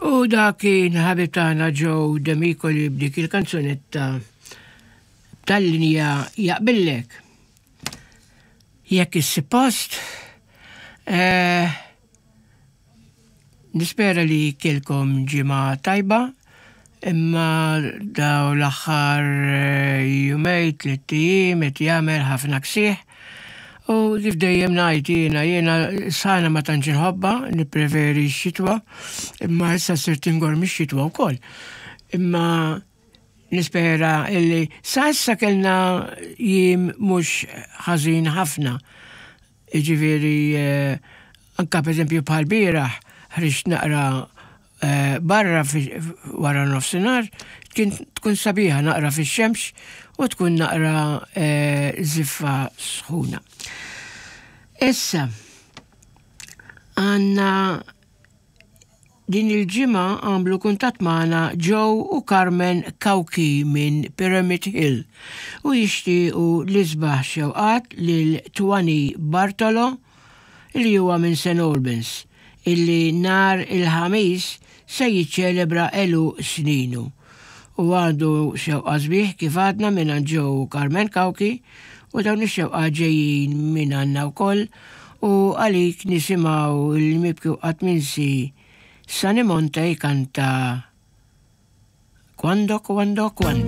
U dak kien ħabib tagħna Joe Demicoli b'dik il-kanzunetta tal-linja jaqbillek. Jekk issib post, eh, nispera li kelkom ġimgħa tajba, imma daw l-aħħar eh, jumej, tliet ijiem qed jagħmel ħafna ksieħ. U kif dejjem ngħid jiena, jiena sana ma tantx inħobbha, nippreferi x-xitwa, imma issa sirt ingorr mix-xitwa wkoll. Imma nispera illi sa issa kellna jiem mhux ħażin ħafna. Jiġifieri eh, anka pereżempju bħal bieraħ ħriġt naqra eh, barra wara nofsinhar kien tkun sabiħa naqra fix-xemx u tkun naqra eh, ziffa sħuna. Issa, għanna din il-ġimgħa għamlu kuntatt magħna Joe u Carmen Cauchi minn Pyramid Hill u jixtiequ l-isbaħ xewqat lil Twani Bartolo li huwa minn St Albans illi nhar il-Ħamis se jiċċelebra għeluq sninu. U għandu xewqa sbieħ kif għadna mingħand Joe u Carmen Cauchi u dawn ix-xewqat ġejjin mingħandna wkoll u għalik nisimgħu l-mibki u qatt minsi Sunny Monte jkanta Quando, quando, quando.